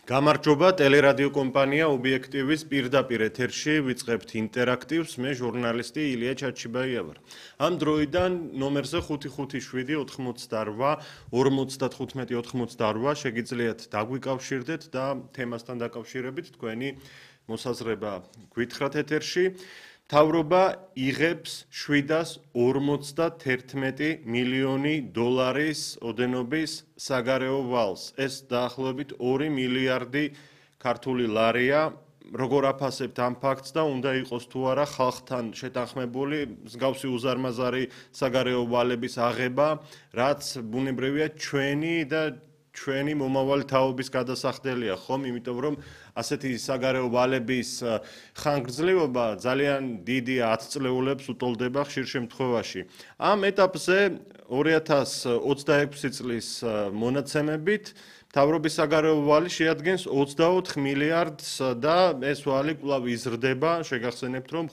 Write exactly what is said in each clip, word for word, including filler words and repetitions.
გამარჯობა, ტელერადიო კომპანია ობიექტივის პირდაპირ ეთერში ვიწყებთ ინტერაქტივს, მე ჟურნალისტი ილია ჩაჩიბაია ვარ. ამ დროიდან ნომერზე ხუთი ხუთი შვიდი ოთხმოცდარბა ორმოცდათხუთმეტი ოთხმოცდარბა შეგიძლიათ დაგვიკავშირდეთ და თემასთან დაკავშირებით თქვენი მოსაზრება გვითხრათ ეთერში. მთავრობა იღებს შვიდას ორმოცდათერთმეტი მილიონი დოლარის ოდენობის საგარეო ვალს. ეს დაახლოებით ორი მილიარდი ქართული ლარია. როგორ აფასებთ ამ ფაქტს და უნდა იყოს თუ არა ხალხთან შეთანხმებული მსგავსი უზარმაზარი საგარეო ვალების აღება, რაც ბუნებრივია ჩვენი და ჩვენი მომავალი თაობის გადასახდელია, ხომ? იმიტომ რომ ასეთი საგარეო ვალების ხანგრძლივობა ძალიან დიდი ათწლეულებს უტოლდება ხშირ შემთხვევაში. ამ ეტაპზე ორი ათას ოცდაექვსი წლის მონაცემებით მთავრობის საგარეო ვალი შეადგენს ოცდაოთხ მილიარდს და ეს ვალი კვლავ იზრდება, შეგახსენებთ რომ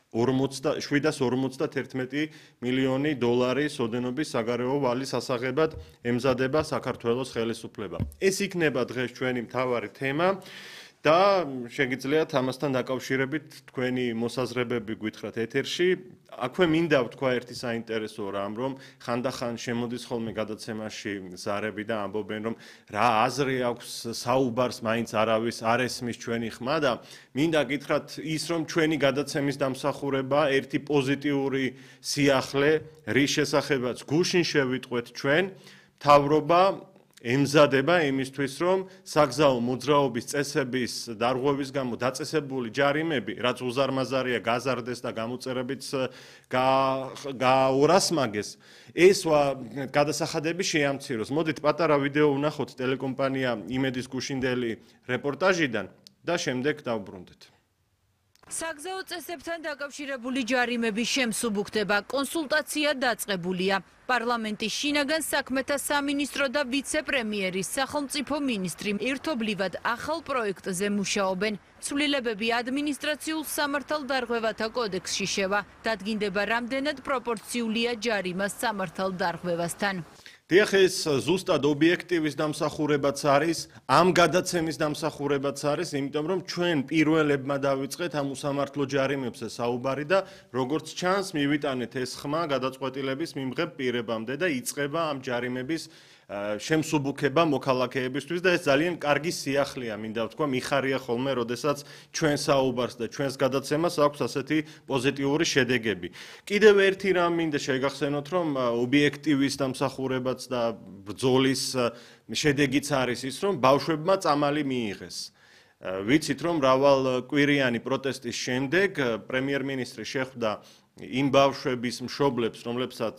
შვიდას ორმოცდათერთმეტი მილიონი დოლარის ოდენობის საგარეო ვალის ასაღებად ემზადება საქართველოს ხელისუფლება. ეს იქნება დღეს ჩვენი მთავარი თემა და შეგიძლიათ ამასთან დაკავშირებით თქვენი მოსაზრებები გვითხრათ ეთერში. აქვე მინდა ვთქვა ერთი საინტერესო რამ, რომ ხანდახან შემოდის ხოლმე გადაცემაში ზარები და ამბობენ, რომ რა აზრი აქვს საუბარს მაინც არავის არ ესმის ჩვენი ხმა და მინდა გითხრათ ის, რომ ჩვენი გადაცემის დამსახურება ერთი პოზიტიური სიახლე, რის შესახებაც გუშინ შევიტყვეთ ჩვენ, მთავრობა ემზადება იმისთვის, რომ საგზაო მოძრაობის წესების დარღვევის გამო დაწესებული ჯარიმები, რაც უზარმაზარია, გაზარდეს და გამოწერებით გაორასმაგეს, ეს გადასახადები შეამციროს. მოდით პატარა ვიდეო ვნახოთ ტელეკომპანია იმედის გუშინდელი რეპორტაჟიდან და შემდეგ დავბრუნდეთ. საგზაო წესებთან დაკავშირებული ჯარიმების შემსუბუქდება, კონსულტაცია დაწყებულია. პარლამენტის შინაგან საქმეთა სამინისტრო და ვიცე-პრემიერის სახელმწიფო მინისტრი ერთობლივად ახალ პროექტზე მუშაობენ. ცვლილებები ადმინისტრაციულ სამართალდარღვევათა კოდექსში შევა. დადგინდება, რამდენად პროპორციულია ჯარიმა სამართალდარღვევასთან. დიახ, ეს ზუსტად ობიექტივის დამსახურებაც არის, ამ გადაცემის დამსახურებაც არის, იმიტომ რომ ჩვენ პირველებმა დავიწყეთ ამ უსამართლო ჯარიმებზე საუბარი და როგორც ჩანს, მივიტანეთ ეს ხმა გადაწყვეტილების მიმღებ პირებამდე და იწყება ამ ჯარიმების შემსუბუქება მოქალაქეებისთვის და ეს ძალიან კარგი სიახლეა, მინდა ვთქვა, მიხარია ხოლმე, როდესაც ჩვენ საუბარს და ჩვენს გადაცემას აქვს ასეთი პოზიტიური შედეგები. კიდევ ერთი რამ მინდა შეგახსენოთ, რომ ობიექტივის დამსახურებაც და ბრძოლის შედეგიც არის ის, რომ ბავშვებმა წამალი მიიღეს. ვიცით, რომ მრავალ კვირიანი პროტესტის შემდეგ პრემიერ-მინისტრი შეხვდა იმ ბავშვების მშობლებს, რომლებსაც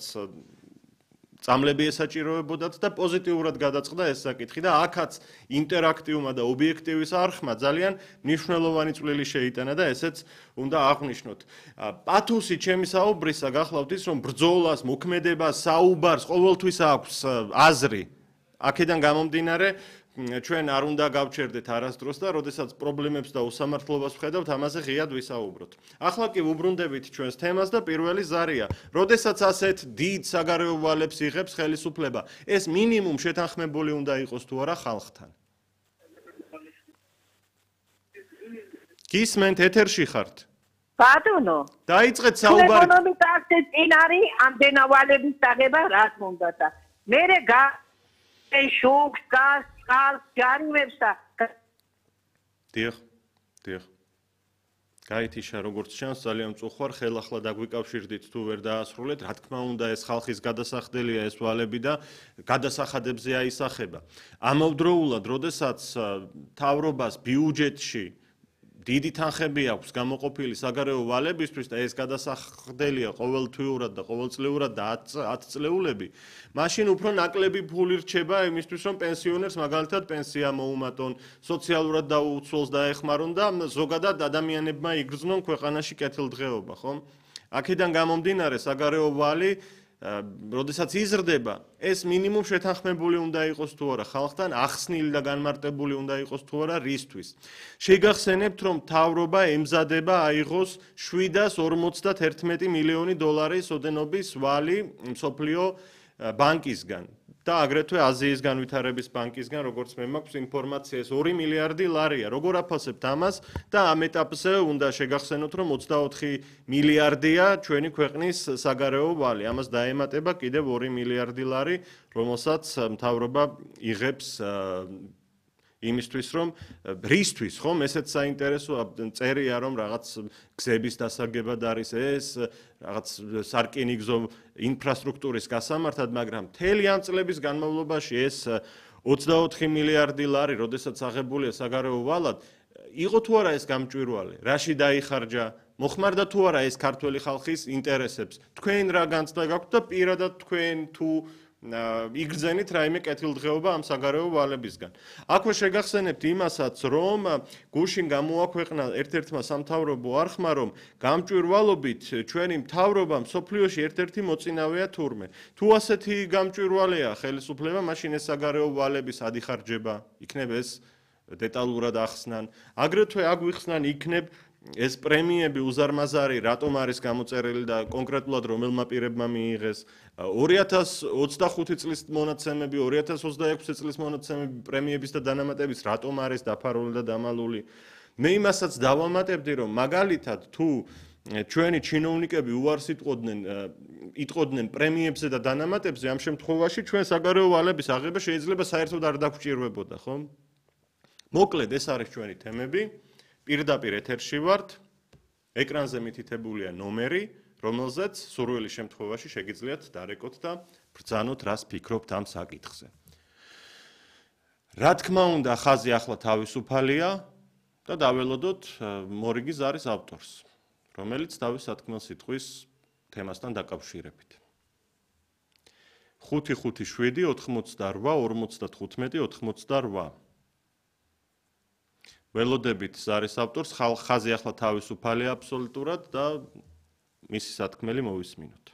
წამლები ესაჭიროებოდათ და პოზიტიურად გადაწყდა ეს საკითხი და აქაც ინტერაქტივმა და ობიექტივის არხმა ძალიან მნიშვნელოვანი წვლილი შეიტანა და ესეც უნდა აღვნიშნოთ. პათოსი ჩემი საუბრისა გახლავთ ის, რომ ბრძოლას, მოქმედებას, საუბარს ყოველთვის აქვს აზრი. აქედან გამომდინარე ჩვენ არ უნდა გავჩერდეთ არასდროს და როდესაც პრობლემებს და უსამართლობას ვხედავთ, ამაზე ღიად ვისაუბროთ. ახლა კი ვუბრუნდებით ჩვენს თემას და პირველი ზარია. როდესაც ასეთ დიდ საგარეო ვალებს იღებს ხელისუფლება, ეს მინიმუმ შეთანხმებული უნდა იყოს თუ არა ხალხთან. გისმენთ, ეთერში ხართ? ბატონო, დაიწყეთ საუბარი. ეკონომიკა აქცეთ წინ არის ამდენა ვალების დაღება, რაც მომდა და მერე გა შოქს გას ხალხ ჯარიმებს და დიახ, დიახ. გაითიშა, როგორც ჩანს, ძალიან მწუხვარ, ხელახლა დაგვიკავშირდით თუ ვერ დაასრულეთ. რა თქმა უნდა, ეს ხალხის გადასახდელია ეს ვალები და გადასახადებზე აისახება. ამავდროულად, როდესაც მთავრობას ბიუჯეტში დიდი თანხები აქვს გამოყოფილი საგარეო ვალებისთვის და ეს გადასახდელია ყოველთვიურად და ყოველწლიურად და ათწლეულები, მაშინ უფრო ნაკლები ფული რჩება იმისთვის, რომ პენსიონერს მაგალითად პენსია მოუმატონ, სოციალურად დაუცველს დაეხმარონ და ზოგადად ადამიანებმა იგრძნონ ქვეყანაში კეთილდღეობა, ხომ? აქედან გამომდინარე საგარეო ვალი როდესაც იზრდება, ეს მინიმუმ შეთანხმებული უნდა იყოს თუ არა ხალხთან, ახსნილი და განმარტებული უნდა იყოს თუ არა რისთვის. შეგახსენებთ, რომ მთავრობა ემზადება აიღოს შვიდას ორმოცდათერთმეტი მილიონი დოლარის ოდენობის ვალი მსოფლიო ბანკისგან. და აგრეთვე აზიის განვითარების ბანკისგან, როგორც მე მაქვს ინფორმაცია, ეს ორი მილიარდი ლარია. როგორ აფასებთ ამას და ამ ეტაპზე უნდა შეგახსენოთ, რომ ოცდაოთხი მილიარდია ჩვენი ქვეყნის საგარეო ვალი. ამას დაემატება კიდევ ორი მილიარდი ლარი, რომელსაც მთავრობა იღებს იმისთვის, რომ რისთვის, ხომ, ესეც საინტერესოა, წერია, რომ რაღაც გზების დასაგებად არის ეს, რაღაც სარკინიგზო ინფრასტრუქტურის გასამართად, მაგრამ მთელი ამ წლების განმავლობაში ეს ოცდაოთხი მილიარდი ლარი, როდესაც აღებულია საგარეო ვალად, იყო თუ არა ეს გამჭვირვალე, რაში დაიხარჯა, მოხმარდა თუ არა ეს ქართველი ხალხის ინტერესებს, თქვენ რა განცდა გაქვთ და პირადად თქვენ თუ იგრძენით რაიმე კეთილდღეობა ამ საგარეო ვალებისგან. აქვე შეგახსენებთ იმასაც, რომ გუშინ გამოაქვეყნა ერთ-ერთმა სამთავრობო არხმა, რომ გამჭვირვალობით ჩვენი მთავრობა მსოფლიოში ერთ-ერთი მოწინავეა თურმე. თუ ასეთი გამჭვირვალეა ხელისუფლება, მაშინ ეს საგარეო ვალების ადიხარჯება იქნებ ეს დეტალურად ახსნან. აგრეთვე აგვიხსნან იქნებ ეს პრემიები უზარმაზარი რატომ არის გამოწერილი და კონკრეტულად რომელმა პირებმა მიიღეს. ორი ათას ოცდახუთი წლის მონაცემები, ორი ათას ოცდაექვსი წლის მონაცემები პრემიების და დანამატების რატომ არის დაფარული და დამალული. მე იმასაც დავამატებდი, რომ მაგალითად თუ ჩვენი ჩინოვნიკები უარს იტყოდნენ იტყოდნენ პრემიებზე და დანამატებზე, ამ შემთხვევაში ჩვენ საგარეო ვალების აღება შეიძლება საერთოდ არ დაგვჭირვებოდა, ხო? მოკლედ ეს არის ჩვენი თემები. პირდაპირ ეთერში ვართ, ეკრანზე მითითებულია ნომერი, რომელზეც სურვილის შემთხვევაში შეგიძლიათ დარეკოთ და ბრძანოთ, რას ფიქრობთ ამ საკითხზე. რა თქმა უნდა, ხაზი ახლა თავისუფალია და დაველოდოთ მორიგი ზარის ავტორს, რომელიც თავის სათქმელ სიტყვის თემასთან დაკავშირებით. ხუთი ხუთი შვიდი ოთხმოცდარვა ორმოცდათხუთმეტი ოთხმოცდარვა ველოდებით ზარის ავტორს, ხაზი ახლა თავისუფალია აბსოლუტურად და მისი სათქმელი მოვისმინოთ.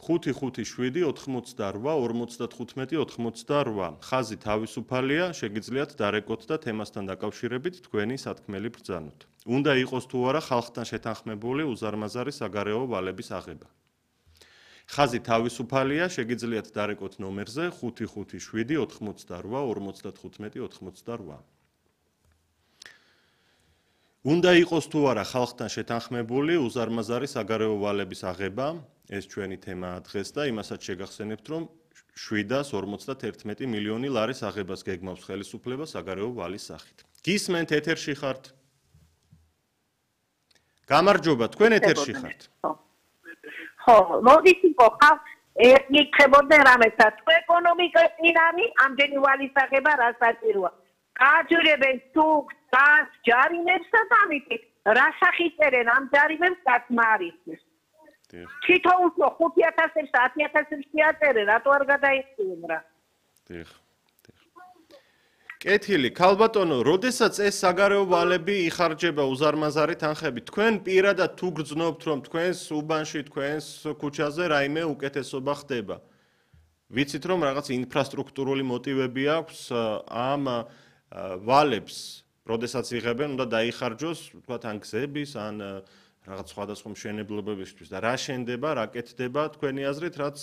ხუთი ხუთი შვიდი ოთხმოცდარვა ორმოცდათხუთმეტი ოთხმოცდარვა ხაზი თავისუფალია, შეგიძლიათ დარეკოთ და თემასთან დაკავშირებით თქვენი სათქმელი ბრძანოთ. უნდა იყოს თუ არა ხალხთან შეთანხმებული უზარმაზარი საგარეო ვალების აღება. ხაზი თავისუფალია, შეგიძლიათ დარეკოთ ნომერზე ხუთი ხუთი შვიდი ოთხმოცდარვა ორმოცდათხუთმეტი ოთხმოცდარვა. უნდა იყოს თუ არა ხალხთან შეთანხმებული უზარმაზარი საგარეო ვალების აღება, ეს ჩვენი თემაა დღეს და იმასაც შეგახსენებთ, რომ შვიდას ორმოცდაერთმეტი მილიონი ლარის აღებას გეგმავს ხელისუფლება საგარეო ვალის სახით. გისმენთ, ეთერში ხართ? გამარჯობა, თქვენ ეთერში ხართ? ხო, მოდის იყო ხალხ ეკითხებოდნენ რამესაც, თუ ეკონომიკა წინ არის, ამდენი ვალის აღება რა საჭიროა. გააჯერებენ სუქს, გაზს, ჯარიმებს და ამიტომ რა სახით წერენ ამ ჯარიმებს გაცმა არის. თითოეულ ხუთი ათასებს, ათი ათასებს შეაწერენ, რატო არ გადაიხსნიან რა? დიახ. კეთილი, ქალბატონო, როდესაც ეს საგარეო ვალები იხარჯება უზარმაზარი თანხებით, თქვენ პირადად თუ გრძნობთ, რომ თქვენს უბანში, თქვენს ქუჩაზე რაიმე უკეთესობა ხდება. ვიცით, რომ რაღაც ინფრასტრუქტურული მოტივები აქვს ამ ვალებს, როდესაც იღებენ, უნდა დაიხარჯოს, თქვათ, ან გზების, ან რაღაც სხვადასხვა მშენებლობებისთვის და რა შენდება, რა კეთდება თქვენი აზრით, რაც